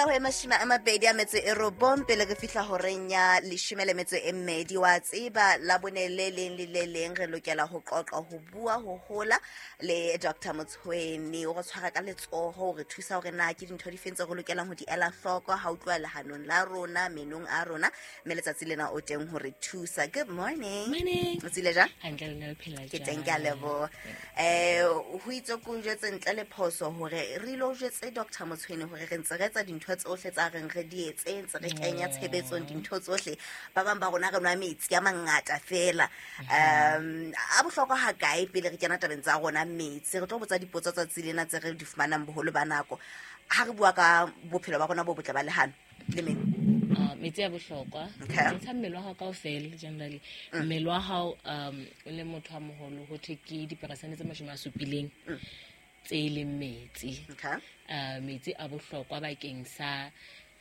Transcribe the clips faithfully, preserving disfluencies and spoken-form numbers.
Isa ho e mashome a mabedi a metso e robong pele re fihla horeng ya leshome le metso e mmedi. Wa tseba la bone le leng le le leng re lokela ho qoqa, ho bua, ho hola le Doctor Motshweni. O re tshwara ka letsoho, o re thusa hore na ke dintho di feng tse re lokelang ho di ela hloko ha o tloha lehanong la rona, menong a rona, mme letsatsi lena o teng ho re thusa. Good morning. Morning. O tsile jang? Hantle, lona le phela Ke jang? teng, ke a leboha. Eh ho itse ko jwetse ntle le phoso hore re ilo jwetse Doctor Motshweni hore re ntse re etsa dintho tsohle tsa reng re di etse, ntse re kenya tshebetsong dintho tsohle. Ba bang ba rona re nwa metsi a mangata fela. Um a bohlokwa ha kae pele re kena tabeng tsa rona metsi? Re tlo botsa dipotso tsatsi lena tse re di fumanang boholo ba nako ha re bua ka bophelo ba rona bo botle ba lehano le meno. Ah, metsi a bohlokwa. Okay. Ntsha mmele wa hao kaofela generally. Mmele wa hao, um o le motho a moholo, ho thwe ke diperesente tse mashome a supileng tse e leng metsi. Okay. Uh, metsi a bohlokwa bakeng sa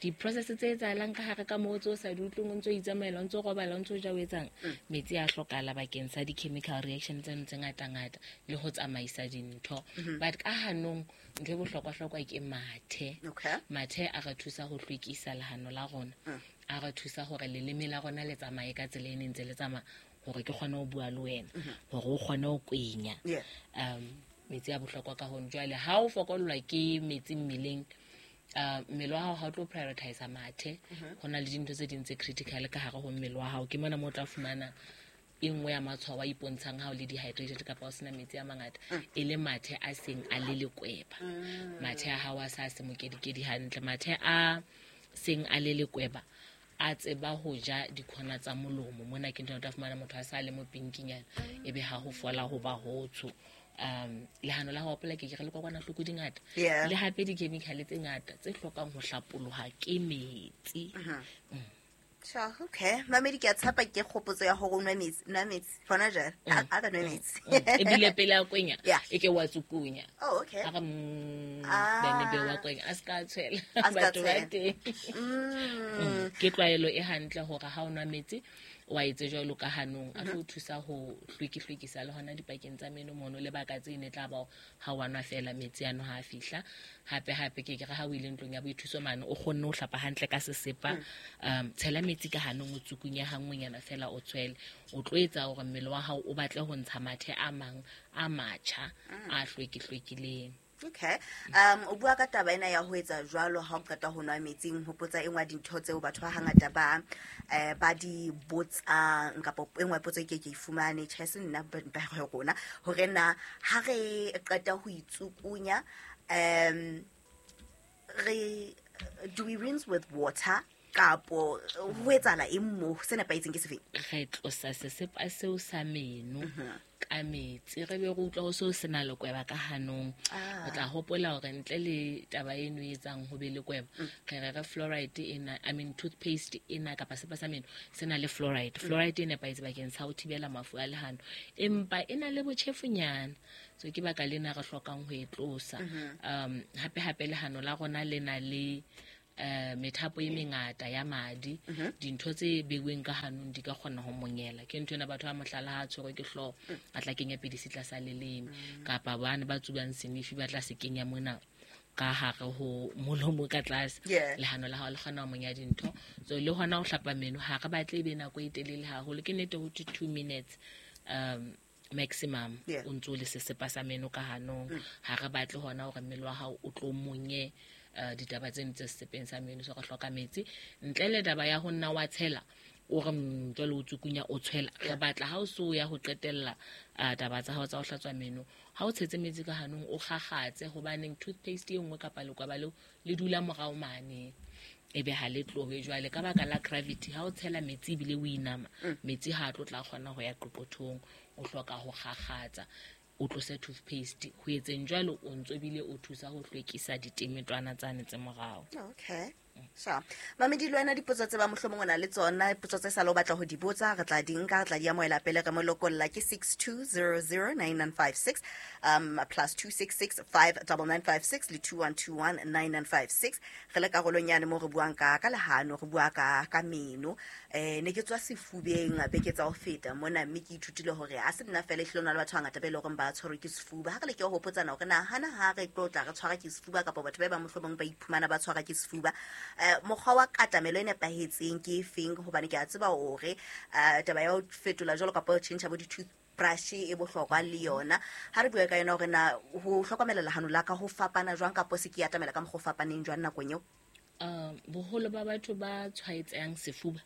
di-process tse etsahalang ka hare ka moo tse o sa di utlweng, o ntso o itsamaela, o ntso o robala, o ntso o ja, o etsang. Metsi a hlokahala bakeng sa di-chemical reaction tseno tse ngata-ngata le ho tsamaisa dintho. But ka hanong ntho e bohlokwa-hlokwa ke mathe. Okay. Mathe a re thusa ho hlwekisa lehano la rona, a re thusa hore leleme la rona le tsamaye ka tsela e neng ntse le tsamaya, hore ke kgone ho bua le wena, hore o kgone ho kwenya. Yeah. um metsi a bohlokwa ka hono. Jwale ha o fokollwa ke metsi mmeleng, uh, mmele wa hao ha o tlo prioritize mathe. Ho na le dintho tse ding tse critical ka hare ho mmele wa hao. Ke mona mo o tla fumana e nngwe ya matshwao a ipontshang ha o le dehydrated kapa o sena metsi a mangata, e le mathe a seng a le lekweba, mathe a hao a sa se mokedikedi hantle. Mathe a seng a le lekweba a tseba ho ja dikhona tsa molomo. Mona ke ntho o tla fumana motho a sa le mo pinkinyana, ebe ha ho fola ho ba hotsho. um lehano la ho hopola ke ke re le kokwanahloko di ngata, Yeah. le hape di-chemical tse ngata tse hlokang ho hlapoloha ke metsi. Sure, okay. Mamedi, ke a tshepa ke kgopotso ya hore o nwe metsi, nwa metsi. Hona jwale, a a ka nwe metsi. Ebile pele a kwenya, Yeah. e ke wa tsukunya. Oh, okay. A re mm, Ah. then ebe wa kwenya, a ska tshwela A ska batho ba tshwela. teng. Mm. Mm, ke tlwaelo e hantle hore ha o nwa metsi wa etse jwalo ka hanong, a tlo o thusa ho hlweki-hlwekisa le hona dipakeng tsa meno mono. Lebaka tse ne tla ba ha wa nwa fela metsi ano ha a fihla. Hape hape ke ke re ha o ile ntlong ya boithuso mane, o kgonne ho hlapa hantle ka sesepa, um tshela metsi ka hanong, o tsukunye hanngwenyana fela, o tshwele. O tlo etsa hore mmele wa hao o batle ho ntsha mathe a mang a matjha a hlweki-hlwekileng. Okay. Um o bua ka taba ena ya ho etsa jwalo ha o qeta ho nwa metsi, nhopotsa e nngwe ya dintho tseo batho ba hangata ba eh ba di botsang, kapa e nngwe potso e ke ke e fumane, tjhe se nna ba ba rona, hore na ha re qeta ho itsukunya, um re do we rinse with water kapo ho etsahala eng mo? Se nepahetseng ke sefeng? Re tlosa sesepa seo sa meno ka metsi, re be re utlwa ho seo se na lekweba ka hanong. Ah. O tla hopola hore ntle le taba eno e etsang ho be lekweba, re re re fluoride ena, I mean toothpaste ena kapa sepa sa meno se na le fluoride. Fluoride e nepahetse bakeng sa ho thibela mafu a lehano, empa e na le botjhefunyana, so ke baka lena re hlokang ho e tlosa. um hape hape lehano la rona le na le eh methapo e mengata ya madi. Dintho tse beuweng ka hanong di ka kgona ho monyela. Ke ntho ena batho ba mohlala ha a tshwerwe ke hlooho, a tla kenya pidisi tlasa leleme, kapa bane ba tsubang senifi ba tla se kenya mona ka hare ho molomo ka tlase. Yeah. Lehano la hao le kgona ho monya dintho. So le hona ho hlapa meno ha re batle e be nako e telele haholo. Ke nnete ho thwe two minutes um maximum Yeah. o ntso le sesepa sa meno ka hanong. Ha re batle hona hore mmele wa hao o tlo monye eh, ditaba tseno tse sesepeng sa meno. So re hloka metsi ntle le taba ya ho nna wa tshela, o re mm, jwale o tsukunya, o tshwela. Re batla ha o so ya ho qetella ah, taba tsa hao tsa ho hlatswa meno, ha o tshetse metsi ka hanong, o kgakgatse, hobaneng toothpaste e nngwe kapa lekwaba leo le dula morao mane, ebe ha le tlohe. Jwale ka baka la gravity, ha o tshela metsi ebile o inama, metsi ha a tlo tla kgona ho ya qoqothong. O hloka ho kgakgatsa, o tlose toothpaste. Ho etseng jwalo o ntso ebile o thusa ho hlwekisa ditemetwana tsane tse morao. Okay. Sure. Mamedi le wena dipotso tse ba mohlomong o na le tsona, potso tse sa le o batla ho di botsa, re tla di nka, re tla di amohela pele re mo lokolla ke six two zero zero nine nine five six, um plus two six six five double nine five six le two one two one nine nine five six. Re le karolong yane mo re buang ka ka lehano, re bua ka ka meno. Eh ne ke tswa sefubeng beke tsa ho feta mona, mme ke ithutile hore ha se nna fela ehlile ho na le batho ba bangata ba e leng hore ba tshwerwe ke sefuba. Ha re leke ho hopotsana hore na hana ha re tlo tla re tshwara ke sefuba kapa batho ba bang mohlomong ba iphumana ba tshwara ke sefuba, eh mokgwa wa katamelo e nepahetseng ke efeng? Hobane ke a tseba hore eh taba ya ho fetola jwalo kapa ho tjhentjha bo di-toothbrush e bohlokwa le yona. Ha re bue ka yona hore na ho hlokomela lehano la ka ho fapana jwang kapa se ke atamela ka mokgwa o fapaneng jwang nakong eo? Um boholo ba batho ba tshwaetsang sefuba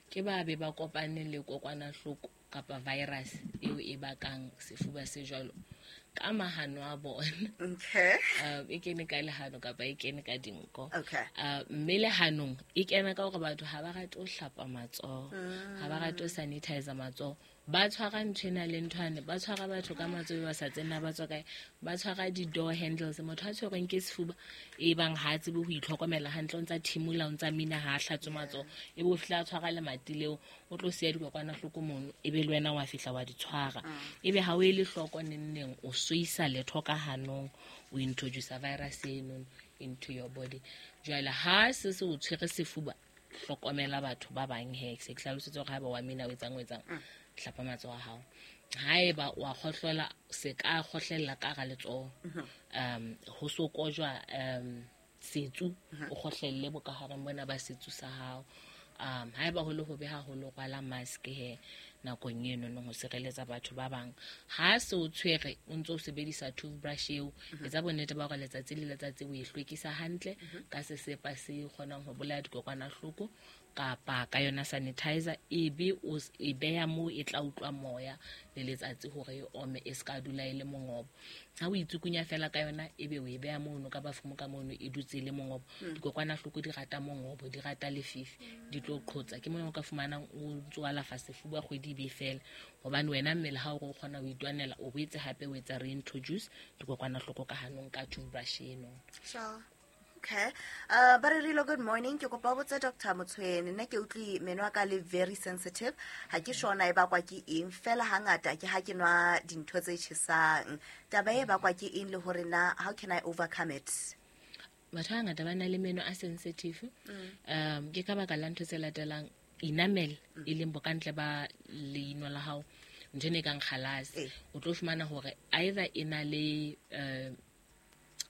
ke ba be ba kopane le kokwanahloko kapa virus eo e bakang sefuba se jwalo ka mahano a bona. Okay. Um e kene ka lehano kapa e kene ka dinko. Okay. Uh, mme lehanong e kena ka hore batho ha ba rate ho hlapa matsoho, ha ba rate ho sanitize matsoho. Ba tshwara ntho ena le nthwane, ba tshwara batho ka matsoho ba sa tsena ba tswa kae, ba tshwara di-door handles. Motho a tshwerweng ke sefuba e bang ha a tsebe ho itlhokomela hantle, o ntsa thimola, o ntsa mina, ha a hlatswe matsoho, e be o fihla a tshwara lemati leo, o tlo siya dikokwanahloko mono, e be le wena wa fihla wa di tshwara. E be ha o ele hloko neng neng o soisa letho ka hanong, o introduce virus eno into your body. Jwale ha se se o tshwere sefuba, hlokomela batho ba bang he, se ke hlalositse hore haeba wa mina o etsang o etsang, hlapa matsoho a hao. Haeba wa kgohlola, se ka kgohlella ka hara letsoho. Um ho so kojwa um setsu, o kgohlelle bokahareng bona ba setsu sa hao. Um haeba ho le hobe haholo, rwala mask he nakong eno no ho sireletsa batho ba bang. Ha se o tshwere o ntso o sebedisa toothbrush eo, etsa bonnete ba hore letsatsi le letsatsi o e hlwekisa hantle ka sesepa se kgonang ho bolaya dikokwanahloko kapa ka yona sanitizer, ebe o e beha moo e tla utlwa moya le letsatsi hore e ome, e ska dula e le mongobo. Ha o itsukunya fela ka yona, ebe o e beha mono ka bafumo ka mono, e dutse e le mongobo. Dikokwanahloko di rata mongobo, di rata lefifi, di tlo qhotsa. Ke mona o ka fumanang o ntso alafa sefuba kgwedi e be fela, hobane wena mmele ha o re o kgona ho itwanela, o boetse hape o etsa reintroduce dikokwanahloko ka hanong ka toothbrush eno. Sure. Okay. Uh, ba re Rilo, good morning. Ke kopa ho botsa Doctor Motshwene, nna ke utlwe meno a ka le very sensitive. Ha ke sure na e bakwa ke eng, fela hangata ke ha ke nwa dintho tse tjhesang. Taba e bakwa ke eng le hore na how can I overcome it? Batho ba bangata ba na le meno a sensitive. Um ke ka baka la ntho tse latelang: enamel, e leng bokantle ba leino la hao, ntho ena e kang kgalase. O tlo fumana hore either e na le uh,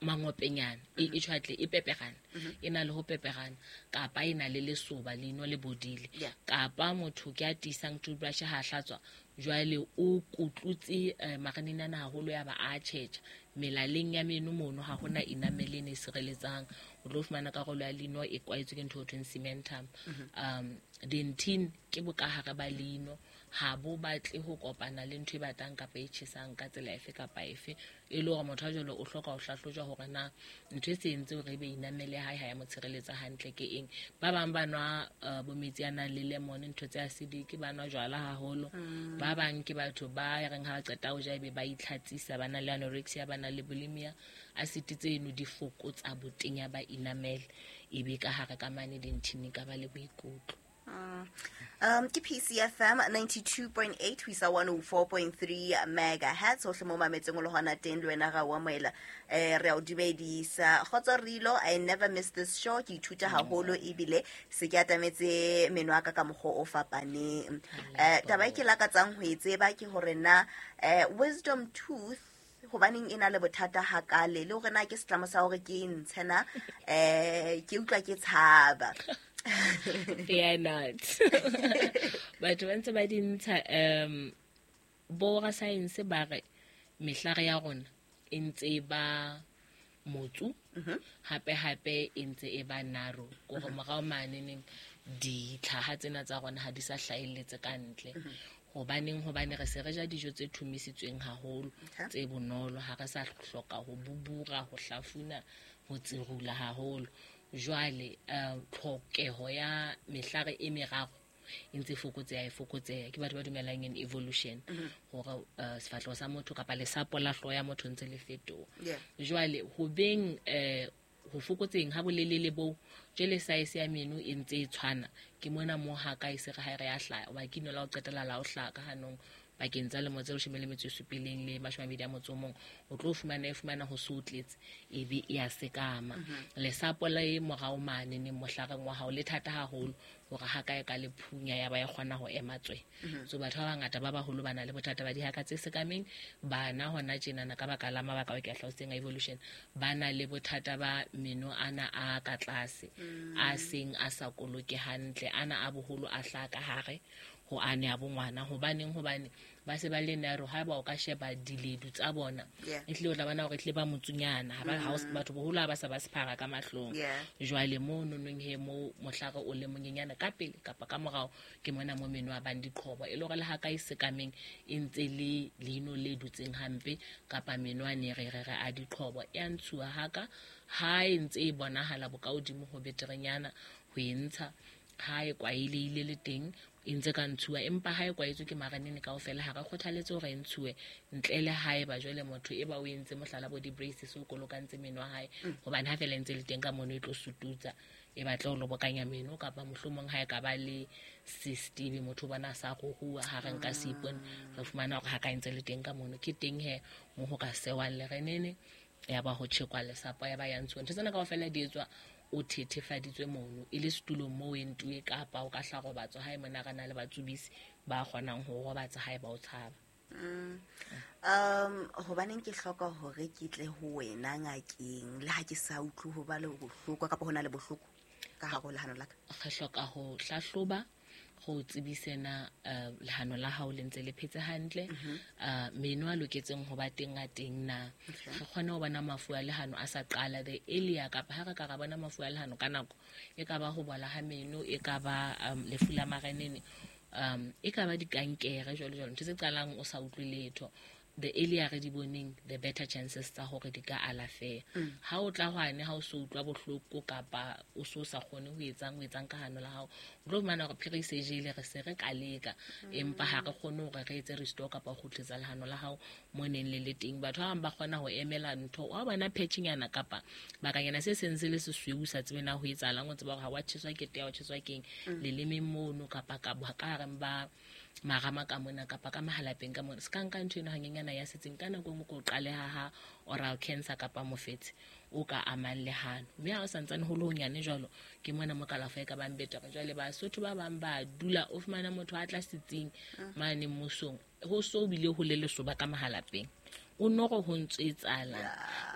mangopenyana, e e tjhwatle, e pepegana, e na le ho pepegana, kapa e na le lesoba, leino le bodile, kapa motho ke a tiisang toothbrush ha hlatswa, jwale o kutlutse eh, marinana haholo ya ba a tjhetjha melaleng ya meno mono, ha hona enamel e sireletsang. O tlo fumana karolo ya leino e kwaetswe ke ntho e thweng cementum. Um dentin ke bokahare ba leino, ha bo batle ho kopana le ntho e batang kapa e tjhesang ka tsela efe kapa efe. E le hore motho a jwalo o hloka ho hlahlojwa hore na ntho e se entse hore ebe enamel ya hae ha ya mo tshireletsa hantle ke eng. Ba bang ba nwa uh, bo metsi a nang le lemon, ntho tse acidic, ba nwa jwala haholo. Ba bang ke batho ba reng ha ba qeta ho ja ebe ba itlhatsisa, ba na le anorexia, ba na le bulimia. Acid tseno di fokotsa botenya ba enamel, ebe ka hare ka mane dentine ka ba le boikutlo. Mm. Um, ke P C F M ninety-two point eight ho isa one oh four point three megahertz. Hohle mo mametseng o le hona teng, le wena ra o amohela. Eh, re a o dumedisa. Kgotso Rilo, I never miss this show. Ke ithuta haholo ebile se ke atametse meno a ka ka mokgwa o fapaneng. Eh, taba e ke lakatsang ho e tseba ke hore na, eh, wisdom tooth hobaneng e na le bothata hakale, le hore na ke setlamo sa hore ke e ntshe na, eh, ke utlwa ke tshaba. Fear not. Batho ba ntse ba di ntsha, um bo rasaense ba re mehlare ya rona e ntse e ba motsu, hape hape e ntse e ba narrow, kore morao maneneng ditlhaha tsena tsa rona ha di sa hlahelletse ka ntle. Hobaneng? Hobane re se re ja dijo tse thumisitsweng haholo, tse bonolo, ha re sa hloka ho bubura, ho hlafuna, ho tsirula haholo. Jwale uh, tlhokeho ya mehlare e meraro e ntse fokotseha, e fokotseha. Ke batho ba dumelang in evolution, hore uh, sefahleho sa motho kapa lesapo la hlooho ya motho ntse le fetoha. Jwale ho beng eh ho fokotseng ha bolelele bo jele size ya meno e ntse e tshwana ke mona mo ha ka e se re ha re ya hlaya o ba ke no la o qetela la o hlaka hanong bakeng tsa lemo tse leshome le metso e supileng le mashome a mabedi a motso o mong o tlo fumana e fumana ho so tletse e be e a sekama. Lesapo le morao mane ne mohlareng wa hao le thata haholo hore ha ka e ka le phunya ya ba ya kgona ho ema tswe. So batho ba bangata ba baholo ba na le bothata ba dihaka tse sekameng, bana hona tjenana ka baka la mabaka ao ke a hlalositseng a evolution ba na le bothata ba meno ana a ka tlase a seng a sa koloke hantle, ana a boholo a hlaha ka hare ho ane a bongwana. Hobaneng? Hobane ba se ba le narrow, ha ba o ka sheba diledu tsa bona e tle o tla bona hore tle ba motsunyana ha ba batho boholo ha ba sa ba sephara ka mahlong. Jwale mo nonong he mo mohlare o le monyenyana ka pele kapa ka morao ke mona mo meno a bang diqhobo e le hore le ha ka e sekameng e ntse le leino le dutseng hampe kapa meno a ne re re re a diqhobo e a ntshuwa haka ha e ntse e bonahala bokahodimo ho beterenyana ho e ntsha ha e kwaeleile le teng e ntse ka ntshuwa, empa ha e kwaetswe ke maranene kaofela ha re kgothaletse hore e ntshuwe ntle le haeba jwale motho e ba o entse mohlala bo di-braces o kolokantse meno a hae, hobane ha fela e ntse le teng ka mono e tlo sututsa e batla ho lobokanya meno, kapa mohlomong ha e ka ba le cyst ebe motho bona a sa ruruha ha re nka seipone re fumana hore ha ka e ntse le teng ka mono ke teng he mo ho ka sewang lerenene ya ba ho tjhekwa lesapo ya ba ya ntshuwa. Ntho tsena kaofela di etswa o thethefaditswe mono e le setulong moo e ntuwe kapa o ka hla robatswa hae mona re na le batsubisi ba kgonang ho robatsa hae ba o tshaba. Mm. Um hobaneng ke hloka hore ke tle ho wena ngakeng le ha ke sa utlwe ho ba le bohloko kapa hona le bohloko ka hare ho lehano la ka? Re hloka ho hlahloba go tsebisena lehano la hao le ntse le phetse hantle, meno a loketseng ho ba teng a teng na, re kgone ho bona mafu a lehano a sa qala the earlier, kapa ha re ka ra bona mafu a lehano ka nako e ka ba ho bola ha meno, e ka ba lefu la marenene, um e ka ba dikankere jwalo jwalo, ntho tse qalang o sa utlwe letho. The earlier re di boneng the better chances tsa hore di ka alafeha. Ha o tla hwane ha o so utlwa bohloko kapa o so sa kgone ho etsang o etsang ka hano la hao, o tlo fumana hore phiri se jele re se re ka leka, empa ha re kgone hore re etse restore kapa ho kgutlisetsa lehano la hao mo neng le le teng. Batho ba bang ba kgona ho emela ntho wa bona patchnyana kapa bakanyana se seng se le sesweu sa tsebe na ho etsahalang, o tseba hore ha wa tjheswa ke tea o tjheswa keng lelemeng mono kapa ka ka hareng ba marama ka mona kapa ka mahalapeng ka mona, se ka nka ntho eno hanyenyana ya setseng ka nako e nngwe ko qaleha ha oral cancer kapa mofetshe o ka amang lehano, mme ha o santsane ho le honyane jwalo ke mona mo kalafo e ka bang betere. Jwale Basotho ba bang ba dula o fumana motho a tla setsing mane mmusong ho so bile ho le lesoba ka mahalapeng o no go ho ntse etsala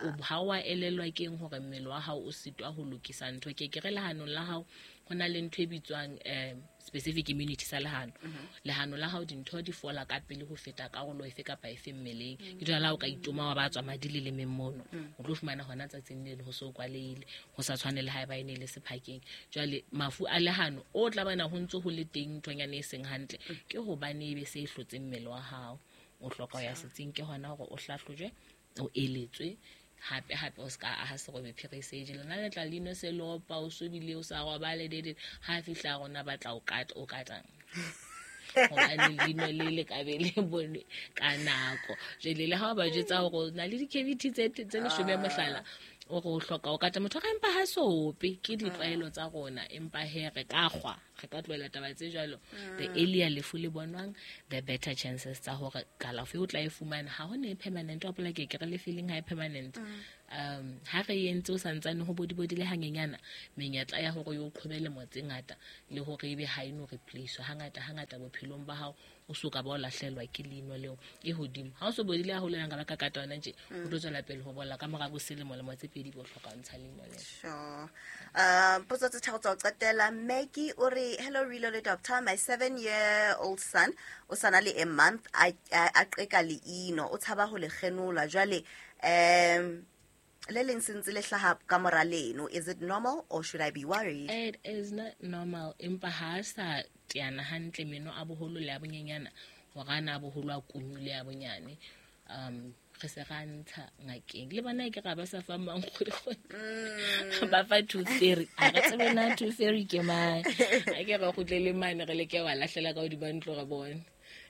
o ha wa elellwa keng hore mmele wa hao o sitwa ho lokisa ntho ke ke re lehanong la hao ho na le ntho e bitswang um specific immunity sa lehano. Lehano la hao dintho di fola ka pele ho feta karolo efe kapa efe mmeleng, ke jwale ha o ka itoma wa ba tswa madi le lemeng mono o tlo fumana hona tsatsing leno ho so kwaleile ho sa tshwane le haeba e ne le sephakeng. Jwale mafu a lehano o tla bana ho ntse ho le teng nthonyana e seng hantle ke hobane ebe se e hlotse mmele wa hao, o hloka ya setsing ke hona hore o hlahlojwe o eletswe hape hape o ska aha serobe phiri se jele na le tla lino se lopa o sobile o sa robale dede ha fihla rona ba tla o kata o katang hobane lino le le ka be le bone ka nako. Jwale le ha ba jetsa hore na le di-cavity tse tse leshome mohlala o re o hloka o kata motho ga empa ha sope ke ditlwaelo tsa rona, empa he re ka kgwa re ka tlohela taba tse jwalo. The earlier lefu le bonwang the better chances tsa hore kalafo o tla e fumana. Ha ho ne permanent wa pola ke ke re le feeling ha e permanent um ha re entse o santsane ho bodibodi le hanyenyana menyetla ya hore yo qhobele motse ngata le hore ebe ha eno replace hangata hangata bophelong ba hao o soka ba o lahlelwa ke leino leo e hodimo. Ha o so bodile ha hole nka ba ka kata yona nje o tlo tswela pele ho bola ka mora bo selemo le motse pedi bo hloka ntsha leino leo. Sure. Um potso tse tharo tsa ho qetela. Maggie o re hello Rilo le doctor, my seven year old son o sana le a month a a qeka leino o tshaba ho le kgenola jwale um le leng sentse le hlaha ka mora leno, is it normal or should I be worried? It is not normal, empa ha sa teana hantle meno a boholo le a bonyenyana hore ana a boholo a kunyule a bonyane um re se ra ntsha ngakeng le bana ke ga ba sa fa mang kgodi ba fa tooth fairy a re tsebe na tooth fairy ke mang a ke re kgutlele mane re leke wa lahlela ka hodima ntlo re bone.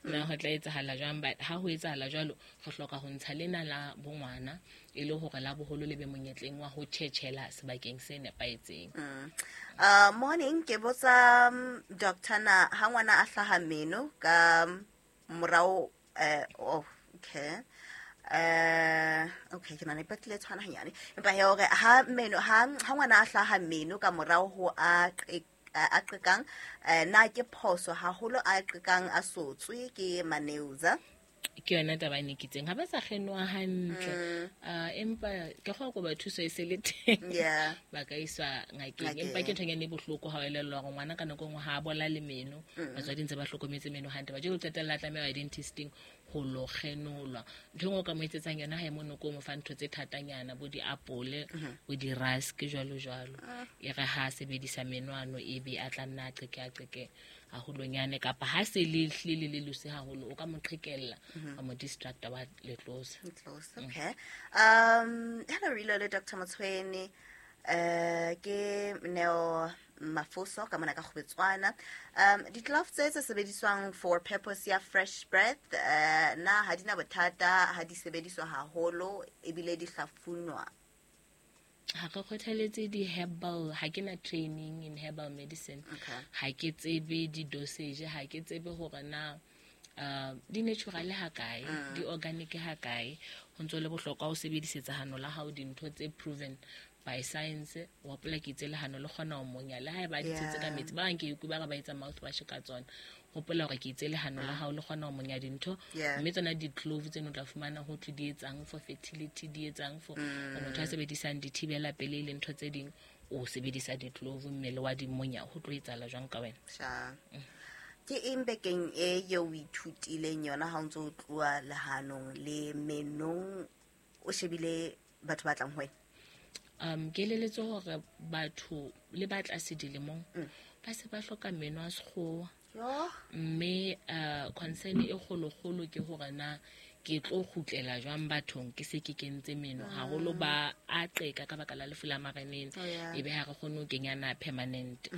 Na ho tla etsahala jwang? But ha ho etsahala jwalo, re hloka ho ntsha lena la bongwana e le hore la boholo le be monyetleng wa ho tjhetjhela sebakeng se nepahetseng. Mm. Uh, morning, ke botsa um, doctor na ha ngwana a hlaha meno ka morao eh oh, okay. Uh, okay, ke nahana e batlile e tshwana hanyane. Empa he hore ha meno ha ha ngwana a hlaha meno ka morao ho a qe- a a qekang, eh, na ke phoso haholo a qekang a sotswe ke maneuza? Ke yona taba e ne ke itseng ha ba sa kgenwa hantle. Ah, empa ke kgwa kopa thuso e se le teng. Yeah. Ba ka iswa ngakeng. Ngakeng. Empa ke nthonyana e bohloko ha o elellwa hore ngwana ka nako e nngwe ha a bola le meno. Batswadi ntse ba hlokometse meno hantle. Ba jwale o qetella a tlameha ho ya dentisting ho lo kgenolwa. Ntho e nngwe o ka mo etsetsang yona ha e mono ko mo fa ntho tse thatanyana, bo diapole, bo di-rusk jwalo jwalo. E re ha a sebedisa menwano ebe a tla nna a qeke a qeke haholonyane, kapa ha se le hlile le le loose haholo, o ka mo qhekella, wa mo distracta, wa le tlosa. Close. Okay. Um, hello, Rilo le Doctor Motshweni. Uh, ke Neo Mafoso ka mona ka Kgobetswana. Um, di-gloves tse tse sebediswang for purpose ya fresh breath, uh, na ha di na bothata ha di sebediswa haholo ebile di hlafunwa? Ha re kgothaletse di-herbal, ha ke na training in herbal medicine. Okay. Ha ke tsebe di-dosage, ha ke tsebe hore na uh, di natural ha kae, di organic ha kae. Ho ntso le bohlokwa ho sebedisetsa hano la hao dintho tse proven by science. Wa hopola ke itse lehano le kgona ho monya le haeba di tshetse ka Yeah. metsi. Ba bang ke utlwe ba re ba etsa mouthwash ka tsona. Hopola hore ke itse lehano la hao le kgona ho monya dintho. Yeah. Mme tsona di-clove tseno o tla fumana ho thwe di etsang for fertility, di etsang for mm. motho a sebedisang dithibela pelehi le ntho tse ding, o sebedisa di-clove mmele wa di monya, ho tlo etsahala jwang ka wena? Sha. Ke eng bekeng e eo o ithutileng yona ha o ntso o tloha lehanong le menong o shebile batho ba tlang ho wena? Um ke eleletswe hore batho le ba tlase dilemong ba se ba hloka meno a sekgowa. Yo. Mme uh, concern e kgolokgolo ke hore na ke tlo kgutlela jwang bathong ke se ke kentse meno, haholo ba a qeka ka baka la lefu la mareneng. Oh, yeah. Ebe ha re kgone ho kenyana permanent.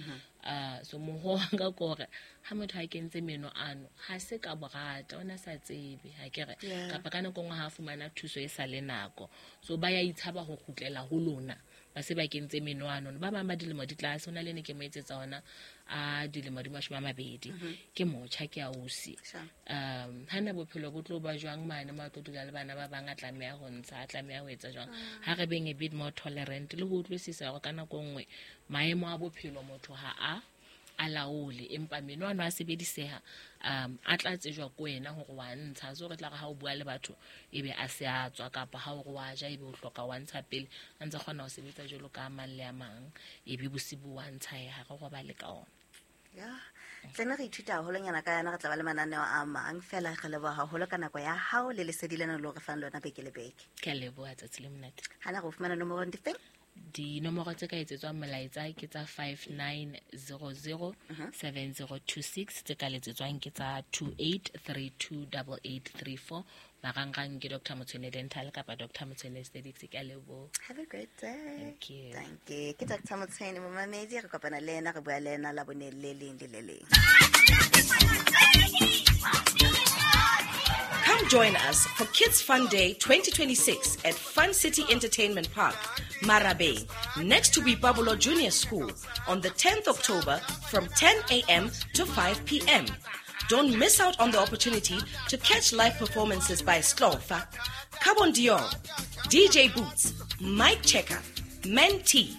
Uh, so moho wa ka ke hore ha motho a kentse meno ano ha se ka borata, o na sa tsebe ha ke re, Yeah. kapa ka nako e nngwe ha a fumana thuso e sa le nako, so ba ya itshaba ho kgutlela ho lona ba se ba kentse meno ano. Ba bang ba dilemo di tlase, ho na le ne ke mo etsetsa ona a dilemo di mashome a mabedi, ke motjha, ke ausi. Sure. Um hana bophelo bo tlo ba jwang mane mo a tlo dula le bana ba bang, a tlameha ho ntsha, a tlameha ho etsa jwang? Ha re beng a bit more tolerant le ho utlwisisa hore ka nako e nngwe maemo a bophelo motho ha a a laole, empa meno ano a sebediseha, um a tla tsejwa ko wena hore wa ntsha. So re tla re ha o bua le batho ebe a se a tswa, kapa ha o re wa ja ebe o hloka wa ntsha pele, a ntse kgona ho sebetsa jwalo ka a mang le a mang, ebe bosibu wa ntsha, e ha re robale ka ona. Ya. Tlene re ithuta haholonyana ka yona, re tla ba le mananeo a mang. Feela re leboha haholo ka nako ya hao le lesedi lena le re fang lona beke le beke. Ke a leboha, tsatsi le monate. Hana re o fumana nomorong difeng? Dinomoro tse ka etsetswang molaetsa ke tsa five nine zero zero seven zero two six, tse ka letsetswang ke tsa two eight three two double eight three four. Marangrang ke Doctor Motshwene Dental kapa Doctor Motshwene Aesthetics. Ke a leboha. Have a great day. Thank you. Thank you. Ke Doctor Motshwene momamedi, re kopana le ena, re bua le ena Labone le leng le le leng. Come join us for Kids Fun Day twenty twenty-six at Fun City Entertainment Park, Marabeng, next to Boipabolo Junior School on the tenth October from ten A M to five P M. Don't miss out on the opportunity to catch live performances by Slofa, Carbon Dior, D J Boots, Mike Checker, Mentee,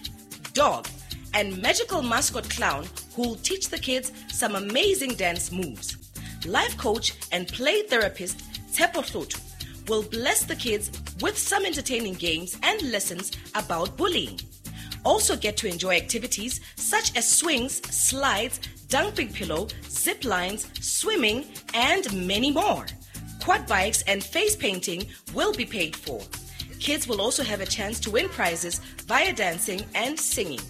Dog, and magical mascot clown who'll teach the kids some amazing dance moves. Life coach and play therapist Tshepo Hlotho will bless the kids with some entertaining games and lessons about bullying. Also get to enjoy activities such as swings, slides, dumping pillow, zip lines, swimming, and many more. Quad bikes and face painting will be paid for. Kids will also have a chance to win prizes via dancing and singing.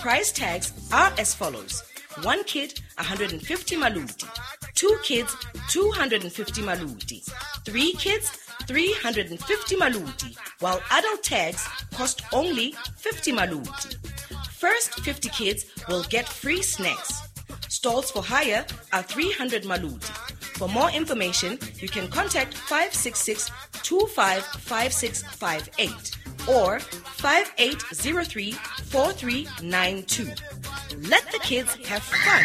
Prize tags are as follows. One kid, a hundred and fifty maluti. Two kids, two hundred and fifty maluti. Three kids, three hundred and fifty maluti, while adult tags cost only fifty maluti. First fifty kids will get free snacks. Stalls for hire are three hundred maluti. For more information, you can contact five six six two five five six five eight or five eight zero three four three nine two. Let the kids have fun.